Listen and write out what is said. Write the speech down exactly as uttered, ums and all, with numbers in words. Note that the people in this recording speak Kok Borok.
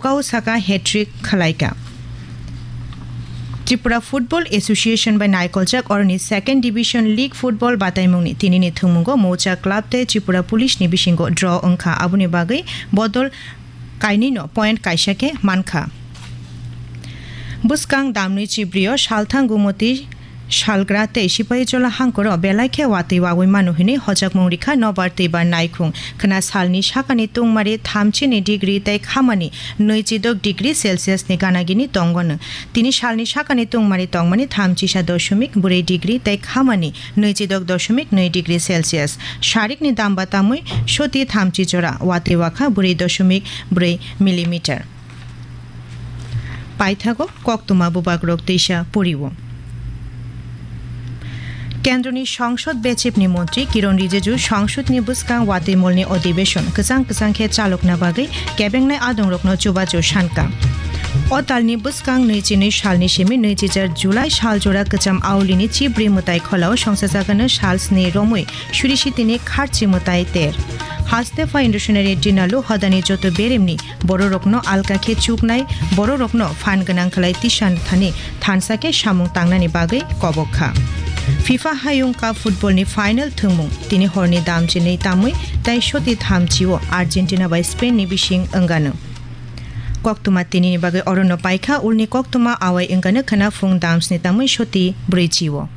Kau saka hat-trick khwlaikha. Tripura Football Association bai naikoljak oroni Second Division League Football bataimungni tinini thwngmungo Moucha Club tei Tripura Police ni bisingo draw wngkha, aboni bagwi bodol kainwino point kaisa khe mankha. Bwskang damnwi chibrio salthang gumoti salgra tei Sipahijola hangkoro belai khe watwi wawi mano hwnwi hojakmung rikha nobar twibar naikhung khna salni sakani tungmari thamchini degree tei khamani nwichidok degree Celsius ni ganagini tongwano. Tini salni sakani tungmari tongmani thamchisa doshomik bwrwi degree tei khamani nwichidok doshomik nwi degree Celsius. Sarikni damba tamwi soti thamchi jora watwi wakha bwrwi doshomik bwrwi millimeter. Paithago koktwma bubagrok teisa poriwo. Kendroni Songsod Bechepni Montri Kiron Rijiju Songsodni bwskang watwi molni odibeshon kwchang kwchang khe chalokna bagwi kebengnai adongrokno chubachu sankha. O talni bwskang nwichi nwi salni simi nwichi jar July sal jora kwcham aulini chibri mwtai kholao songsajagano sal sni romwi surisitini kharchi mwtai ter. Haste pha Indushinari Dinalu hodani joto beremni bororokno alka khe chuknai, bororokno phan gwnang khlai tisan thani thansa khe samung tangnani bagwi kobok kha. FIFA Hayung Cup football ni final thwngmung tini horni dam chinwi tamwi tai soti thamchi o Argentina bai Spain ni bising wngano. Koktwma tinini bagwi orono paikha, ulni koktwma awai wngano khna phung dam sni tamwi soti brwi chi o.